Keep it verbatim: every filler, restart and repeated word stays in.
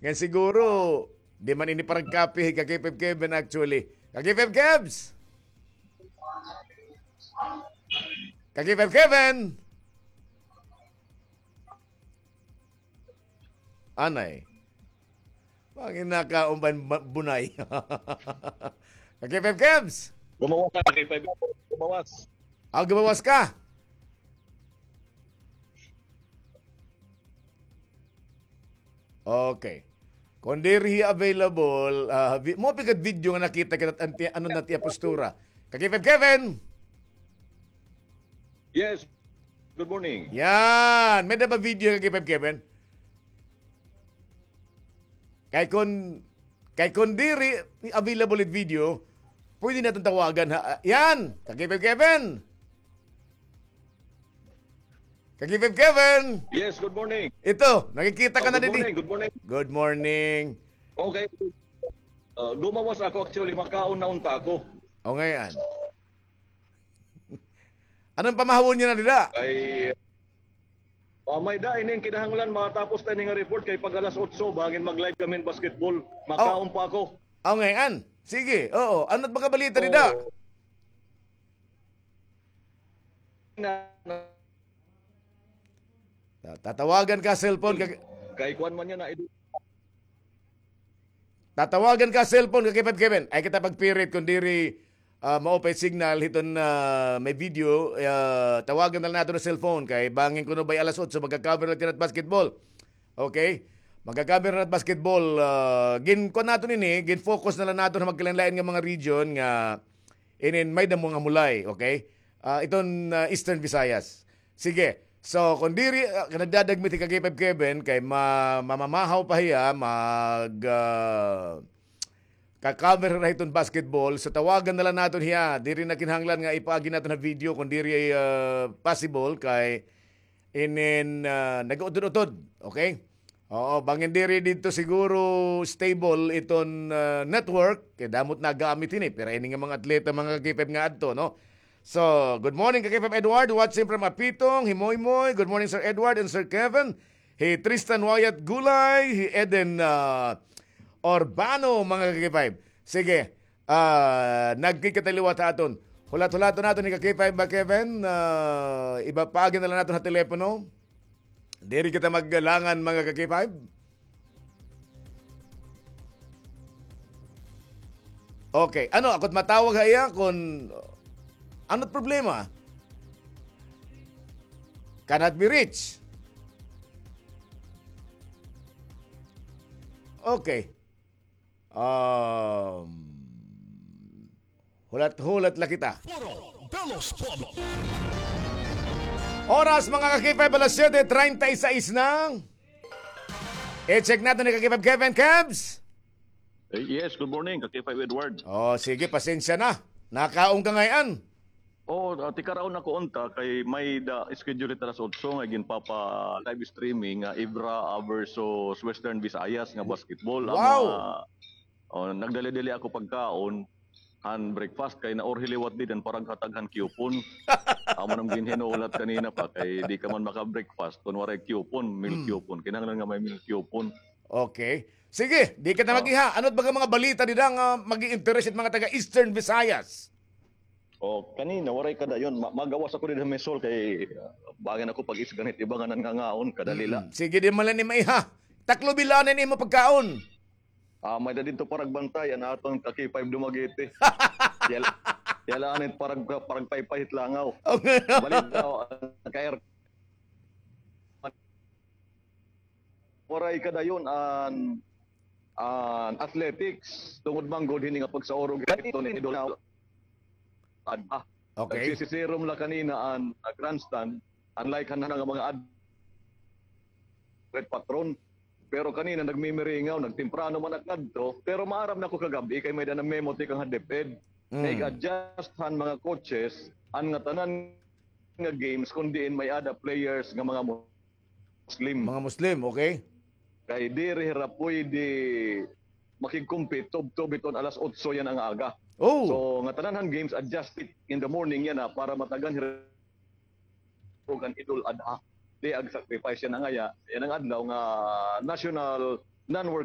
Nga siguro, di man ini parang copy, ka K five Kevin actually. Ka K five Kevs! Ka K five Kevin! Anay. Pangin nakaumban bunay. Ka K five Kevs! Gumawas ka, K five. Gumawas. Ah, gumawas ka? Okay. Kon diri available, ah, vi-, mo pigad video nga nakita kita, anti-, ano na tiya postura. Ka K five Kevin! Yes. Good morning. Yan. May-ada ba video, ka K five Kevin? Kay kon, kay kon diri available it video, pwede naton tawagan, ha. Yan. Ka K five Kevin! Ka K five Kevin! Yes, good morning. Ito, nakikita ka na didi. Good morning, good morning. Good morning. Okay. Ah, gumawas ako actually, makaon na unta ako. O, ngay-an. Ano an pamahawon niyo na dida? Kay, ah, may-ada ini nga kinahanglan matapos ta ini nga report kay pag alas otso, bangin mag-live kami hin basketball. Makaon pa ako. O, ngay-an. Sige, oo. Ano it mga balita dida? Oo. Na, na, Ta-, tatawagan ka cellphone, ka-, kay kuan man yana, tatawagan ka cellphone, ka K five Kevin. Ay kita pagpirit kon diri, ah, maupay signal hiton, ah, may video, ah, tawagan na la naton ha cellphone kay bangin kuno by alas otso magka-cover na kita hin basketball. Okay? Magka-cover na hin basketball, ah, gin-, kuan naton ini, gin-focus na la naton ha magkalain-lain nga mga region nga inin may-ada mga mulay, okay? Ah, iton, ah, Eastern Visayas. Sige. So, kon diri, ah, nagdadagmit hi ka K five Kevin, kay ma-, mamamahaw pa hiya, mag, ah, ka-cover na hiton basketball. So, tawagan na la naton hiya. Diri na kinahanglan nga ipaagi naton ha video, kon diri, ah, possible, kay inin, ah, nag-utod-utod. Okay? Oo, bangin diri didto siguro stable iton, ah, network, kay damo it nagamit hini, pero ini nga mga atleta, mga ka-K five nga adto, no? So, good morning, ka-K five Edward, watching from Apitong, hi Moymoy. Good morning, Sir Edward and Sir Kevin. Hi Tristan Wyatt Gulay, hi Eden, ah, Urbano, mga ka-K five. Sige, ah, nagkikita liwat ha aton. Hulat-hulaton naton hi ka-K five ba, Kevin? Ah, iba paagi na la naton ha telepono. Diri kita maglangan, mga ka-K five. Okay. Ano, ako it matawag ha iya kon ano it problema? Cannot be reached. Okay. Um, hulat-hulat la kita. Foro de los Pueblos. Oras, mga ka-K five, alas siyete treinta y seis na. I-check naton ni ka-K five Kevin. Kevs? Eh, yes, good morning, ka-K five Edward. Oh, sige, pasensya na. Nakaon ka ngay-an. Oo, ah, tikaraon ako unta kay may-ada schedule hit alas otso nga ginpapa-live streaming nga Ibra, ah, versus Western Visayas nga basketball. Wow! Amo nga, oh, nagdali-dali ako pagkaon han breakfast kay naurhi liwat didi an paraghatag han coupon. Amo na an ginhinulat kanina pa kay di ka man maka-breakfast kon waray coupon, meal coupon. Kinahanglan nga may meal coupon. Okay. Sige, di kita mag-iha. Ano it baga mga balita dida nga mag-i-interest it mga taga Eastern Visayas? O, kanina, waray kadayon. Ma-, magawas ako dida ha Misol kay, ah, bangin ako pag-isgan hit iba nga nangangawon, kadali la. Mm-mm. Sige, di man la ini maiha. Taklo bilanan imo pagkaon. Ah, may-ada didto paragbantay, an aton ka-K five Dumaguete. Yal-, yalaan it parag-, paragpaypay hit langaw. Okay. Balita, oh, ka-air-, waray kadayon an, an athletics, tungod man gud hini nga pagsaurog hito ni Idol Ad-, ah, okay. Nagsisiserum la kanina an, ah, grandstand, unlike han, han mga ad-, red patron. Pero kanina nagmimiringaw, nagtemprano man ak ngadto, pero maaram na ko kagab-i kay may-ada na memo tikang ha DepEd. Mm. Nag-adjust han mga coaches, an ngatanan nga games, kon diin may-ada players nga mga Muslim. Mga Muslim, okay. Kay diri hira pwede makig-compete tubtob hiton alas otso yana nga aga. Oh. So, ngatanan han games adjusted in the morning yana para matagan hira ug an Idul Adha. Day ug sacrifice yana nga aya, yana nga adlaw nga National Non-Working